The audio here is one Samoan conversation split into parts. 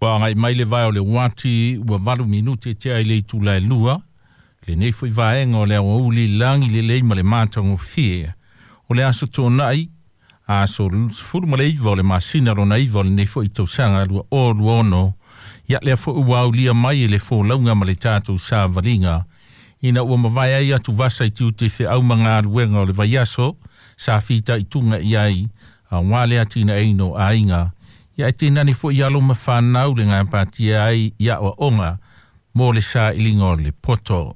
Ua agai mai le vae o le uati ua 8 minute e tea i le itula e 2. Lenei foi vaega o le aoauli i lagi lelei ma le matagofie. O le aso Toonai, aso 19 o le masina lona 9 o lenei foi tausaga 2026. Ia lea foi ua aulia mai e le folauga ma le tatou savaliga. Ina ua mavae ai atuvasa i tiute feau ma galuega o le vaiaso, sa fitaituga i ai, aua le atinaeina o aiga. Ia e tainane foi alo ma fanau le gapatia ai i aoaoga mo le sailiga o le poto.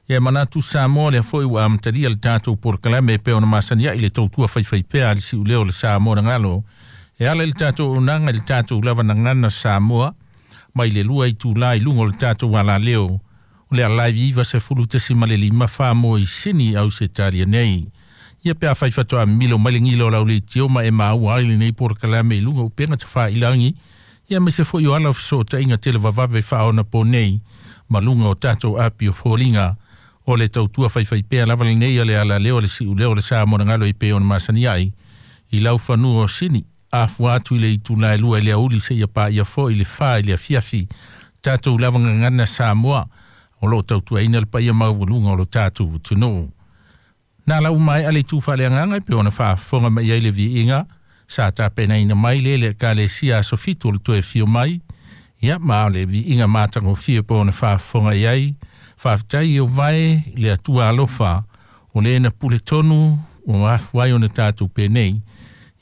Ia manatu Samoa lea foi ua amatalia le tatou polokalame e pei ona masani ai le tautua faifaipea a le siuleo o le Samoa na galo. E ala i le tatou auaunaga i le tatou lava gagana Samoa mai le 2 itula i luga o le tatou alaleo. O le Alive 90.5 mo i Sini Ausetalia nei. Ia pe afai faatoa milo mai le gila o lau leitio ma e maua ai lenei polokalame i luga o upega tafailagi. Ia aemaise foi o ala o fesootaiga televavave faaonaponei ma luga o tatou api o foliga. O le tautua faifaipea lava lenei a le alaleo le siuleo o le Samoa na galo i pei ona masani ai. I lau fanua o Sini, afua atu i le itula e 2 i le aoauli seia paia foi le 4 i le afiafi. Tatou lava gagana Samoa o lo o tautuaina le paia maualuga o lo tatou atunuu. Na lau mai ale tu faaleagaga e pei ona faafofoga mai ai le viiga sa tapenaina mai le le Ekalesia aso 7 o le toe fio mai. Ia ma o le viiga matagofie po ona faafofoga i ai. Faafetai i o vae le Atua alofa o le na pule tonu ua mafua ai ona tatou penei.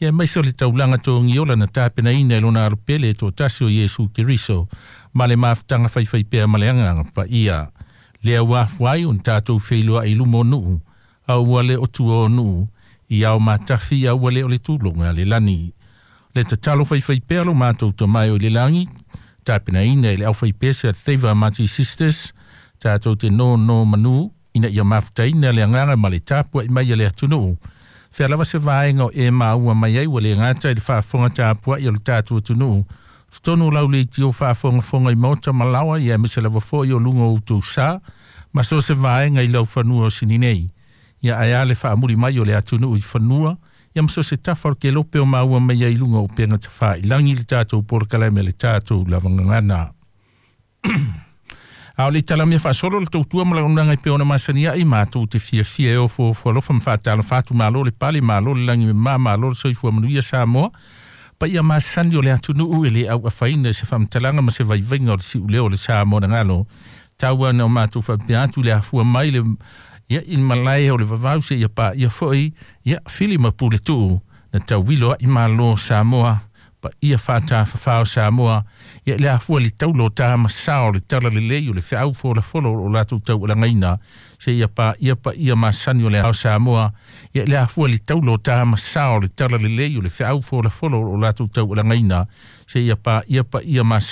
Ia aemaise o le taulaga togiola na tapenaina e lona alopele e toatasi o Iesu Keriso ma le mafutaga faifaipea ma le agaga paia. Lea ua afua ai ona tatou feiloai i luma o nuu, a ua le o tua o nuu, i ao matafi a ua le o le tuloga a le lani. Le tatalo faifaipea lo matou Tama e o i le lagi, tapenaina e le aufaipese a Favour Mati Sisters, tatou te nonomanu ina ia mafutaina le agaga ma le tapuai mai a le atunuu. Fea lava se vaega o e maua mai ai ua le gata i le faafofoga tapuai o le tatou atunuu. Totonu o lau leitio faafogafoga i maota ma laoa, ia aemaise lava foi o luga o outou sa, ma so o se vaega i lau fanua o Sini nei. Ia ae a le faamuli mai o le atunuu i fanua, ia ma so o se tafa o le kelope o maua mai ai i luga o upega tafailagi le tatou polokalame le tatou lava gagana. A o le talamia faasolo le tautua ma launaga i pei ona masani ai matou te fiafia e ofoofo alofa ma faatalofa atu malo le pale malo le lagi me malo le soifua manuia Samoa. Paia masani o le atunuu e le auafaina i se faamatalaga ma se vaivaiga o le siuleo o le Samoa na galo. Tau na o matou faapea atu le afua mai le ia i malae o le vavau seia paia foi ia fili ma pule tuu na tauilo ai malo Samoa paia faatafafao Samoa ia le afua le taulo ta ma sao le tala lelei o le feau folafolo o latou taualagaina seia paia paia masani o le ao Samoa ia le afua le taulo ta ma sao le tala lelei o le feau folafolo o latou taualagaina seia paia paia masani.